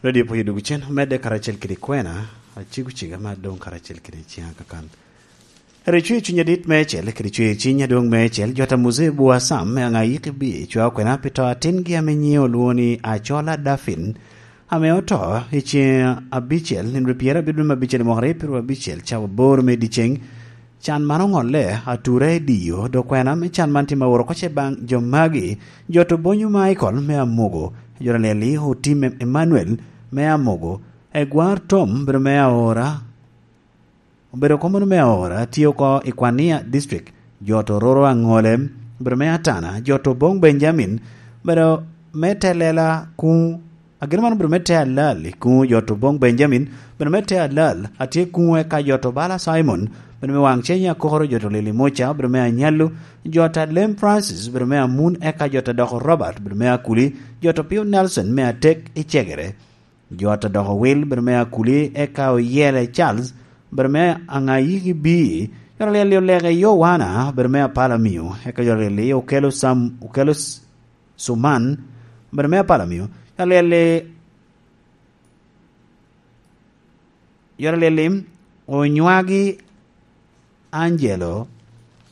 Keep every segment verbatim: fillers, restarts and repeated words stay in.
Radio Poyo dwogo cen, omedde karacel kede kwena, acego cega me adoŋ karacel kede ciŋa kakan. Ero icweo cuny adit meicel, kede cweo cuny adwoŋ meicel, jot a Muzee Bua Sam me Aŋayiki B, cwao kwena pi to atingi ame nyiŋe olwoŋo ni Acola Dafin, ame oto i ceŋ abicel, nino pyerabiro dwe me abicel i mwaka aryo pyeraryo abicel, cawa aboro me dyeceŋ. Can man oŋolle atura i Diyo, dok kwena me can man tye ma oro oko ce baŋ jo magi, jot Obonyo Michael me Amogo, jot Alyel-li Otim Emmanuel me Amogo, Egwar Tom, obedo me Aora, obedo komono me Aora, tye oko i Kwania District, jot Ororo Aŋole, obedo me Atana, jot Oboŋ Benjamin, obedo me Telela kuŋ, ageno man obedo me te alal i kuŋ jot Oboŋ Benjamin, obedo me te alal, atye kuŋ eka jot Obala Simon, obedo me Waŋ Cenya Akokoro, jot Olili Muca, obedo me Anyallu, jot Alem Francis, obedo me Amun, eka jot Adoko Robert, obedo me Akuli, jot Opio Nelson me Atek i Cegere, jot Adoko Wil, obedo me Akuli, eka Oyele Charles, obedo me Aŋayiki B, jot Alyel-li Oleke Yowana, obedo me Apalamio, eka jot Alyel-li Okelo Sam, Okelo S-, Suman, obedo me Apalamio, jot Alyel-li, jot Alyel-li Onywagi Angelo,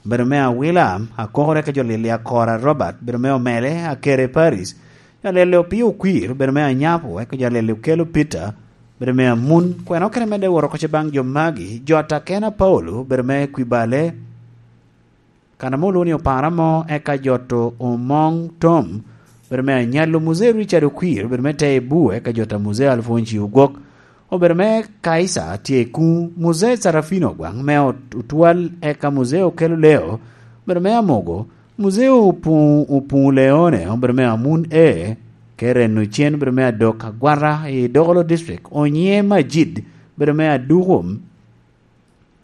obedo me Awila, Akokoro, eka jot Alyel-li Akora Robert, obedo me Omele, Akere Paris, jot Alyel-li Opio Okwir, obedo me Anyapo, eka jot Alyel-li Okelo Peter, obedo me Amun, kwena okene medde woro oko ce baŋ jo magi, jot Akena Paulo, obedo me Kwibale, kan ame olwoŋo ni Opara Mo, eka jot Omoŋ Tom, obedo me Anyallo, Muzee Richard Okwir, obedo me Teibu, eka jot a Muzee Alfonsi Ogwok, obedo me Kaisa tye i kuŋ, Muzee Sarafino Ogwaŋ me Ot-, Otwal, eka Muzee Okelo Leo, obedo me Amogo, Muzee Opuŋ-, Opuŋ Leone, obedo me Amun E, Keren Ocen, obedo me Adok Agwata i Dokolo District, Onyiŋe Majid, obedo me Aduko,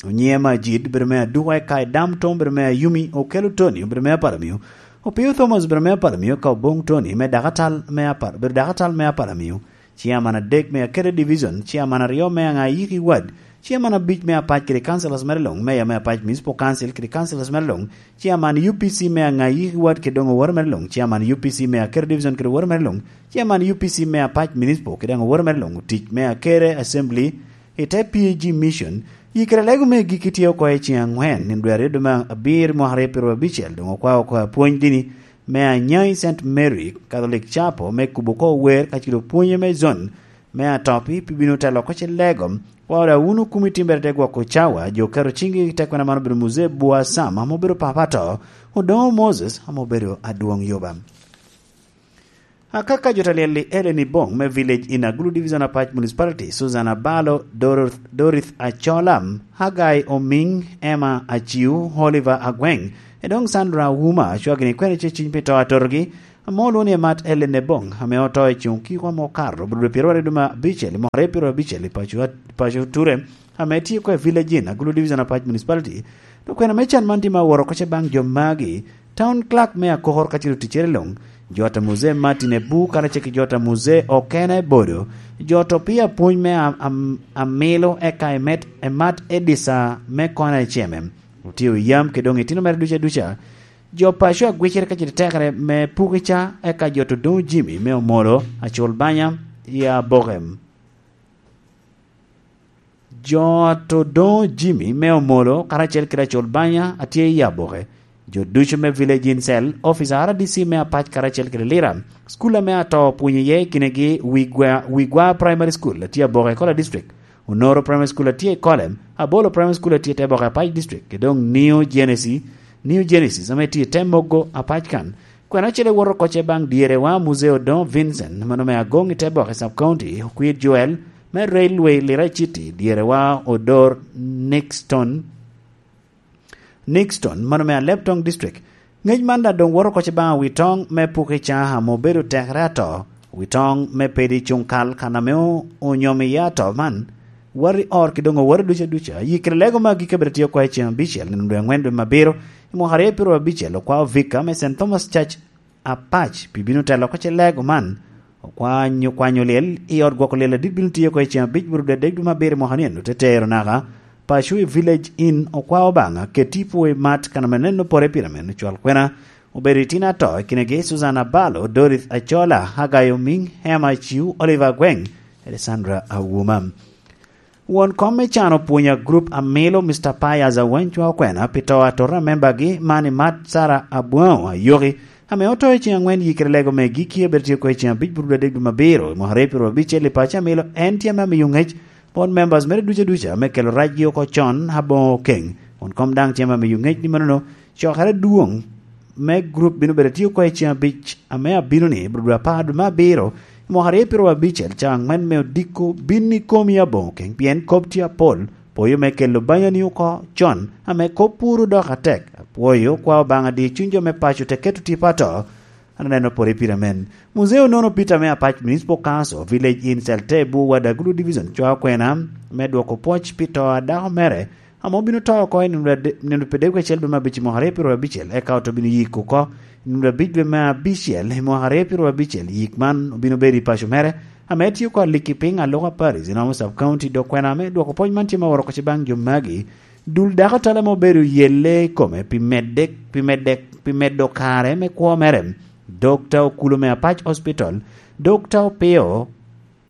Onyiŋe Majid, obedo me Aduko, eka i Dam Tom, obedo me Ayumi, Okelo Tony, obedo me Apalamio, Opio Thomas, obedo me Apalamio, eka Oboŋ Tony, me Dakatal me Apal-, obedo Dakatal me Apalamio, Chairman adek me Akete Division, Chairman aryo me Aŋayiki Ward, Chairman abic me Apac kede Councillors mere luŋ, Mayor me Apac Municipal Council kede Councillors mere luŋ, Chairman U P C me Aŋayiki Ward kede doŋ oworo mere luŋ, Chairman U P C me Akete Division kede oworo mere luŋ, Chairman U P C me Apac Municipal kede doŋ oworo mere luŋ, otic me Akete Assembly, i te P A G Mission, yikere lego me gikki tye oko i ceŋ aŋwen, nino dwe aryo dwe me abiro mwaka aryo pyeraryo abicel, doŋ okwao oko apwony dini me Anyai Saint Mary Catholic Chapel me kubo oko wer kacel opwonye me zon me Atopi, pi bino telo oko ce lego, kwao da wunu kumi timbere te gwoko cawa, jo keto ciŋgi i te kwena man obedo Muzee Bua Sam, ame obedo papa ato, Odoŋo Moses, ame obedo adwoŋ yoba. Akaka jot Alyel-li Eleni Boŋ me Village in Agulu Division Apac Municipality, Susan Abalo, Dor-, Dorith Achola, Hagai Omiŋ, Emma Aciu, Oliver Agweŋ, edoŋ Sandra Wuma, acwagini kwene ce ciny pi to atotogi, ame olwoŋo ni Emat Eleni Boŋ, ame oto i cuŋ kiko ame okato, obedo dwe pyeraryo dwe me abicel, i mwaka aryo pyeraryo abicel, i paco, paco Ture, ame tye oko i Village in, Agulu Division Apac Municipality, dok kwena me can man tye ma oworo oko ce baŋ jo magi, Town Clerk me Akokor kacel oticcere luŋ, jot a Muzee Martin Ebu karacel ki jot a Muzee Okena Ebodo, jot opii apwony me am-, am-, amilo eka emet, emat Edisa me Kona Eceme, otio yam kede doŋ itino mere duca duca, jo paco agwicere kacel tekere me Pukica, eka jot Odoŋo Jimmy me Omolo, Acul Banya, i Abokem. Jot Odoŋo Jimmy me Omolo karacel kede Acol Banya a tye i Aboke, jo ducu me Village in Cell, ofica R D C me Apac karacel kede Lira, cukul ame ato opwonyo iye i kinegi Wigwa, Wigwa Primary School a tye Aboke, Kola District, Onoro Primary School a tye i Kolem, Abolo Primary School a tye i te Boke Apac District, kede doŋ New Genesis, New Genesis ame tye i te Mogo Apac kan. Kwena ocele woto oko ce baŋ dyerewa Muzee Odoŋo Vincent, mano me Agoŋ i te Boke Sub County, Okwir Joel, me Railway Lira City, dyerewa Odor Nixton, Nixton, mano me Alebtong District. Ŋec man daŋ doŋ woto oko ce baŋ Awitoŋ me Pukica ame obedo tekere ato, Awitoŋ me Pedi Cuŋkal kan ame o-, onyomo iye ato man, wati or ki doŋ owati duca duca, yikere lego me agikki abiro tye oko i ceŋ abicel, nino dwe aŋwen dwe me abiro, i mwaka aryo pyeraryo abicel, okwao Vika me Saint Thomas Church Apac pi bino telo oko ce lego man. Okwanyo, kwanyo lyel i ot gwoko lyel adit bino tiyo oko i ceŋ abic buru dwe adek dwe me abiro i mwaka ni eno, te tero naka paco i Village Inn, okwao Obaŋa, keti pwo i mat, kan ame neno pore pire men, ocwal kwena, obedo itino ato, i kinegi Susan Abalo, Dorith Achola, Hagai Omiŋ, Emma Aciu, Oliver Agweŋ, Alessandra Awuma. Won kom me can opwonyo a grup a milo Mister Pius Awany Cwa Okwena pi to atot a membagi man i Mat Sara Abwao Ayoki, ame oto i ceng angwen yikere lego me giki, abet tye oko i ceng abic pud adek dwe me abiro i mwaka aryo piro abicel i paco a milo. En tye ame amiyo ngec bot members mere duca duca me kelo racgi oko con aboŋo keŋ. Won kom daŋ tye ame amiyo ngec ni manono cokere adwoŋ me grup bino bedo tye oko i ceng abic ame abino ni, bro dwe apar dwe me abiro, i mwaka aryo piro abicel, caa angwen me odiko bin i komi aboŋo keŋ, pien kop tye apol, poyo me kelo banyani oko con, ame kop puro dok atek. Apwoyo kwa Obaŋa di cuny jo me paco te keto tipo ato. An aneno pore pire men. Muzeo nono Peter me Apac Municipal Council, Village in Celte, Bwo Wadagulu Division, Cwa Okwena, me dwoko pwoc pi to a dako mere, ame obino to oko i nino ade-, nino pi dek acel dwe me abic i mwaka aryo piro abicel, eka oto bino yiko oko i nino abic dwe me abicel i mwaka aryo piro abicel. Yik man obino bedo i paco mere, ame tye oko aliki piny Aloka Paris, i Namo Sub County, dok kwena ame dwoko pwoc man tye ma oro oko ci baŋ jo magi. Dul dako tala ma obedo yelle i kome pi medde, pi medde, pi medo kare me kwo mere, Dokta Okulo me Apac Hospital, Dokta Opio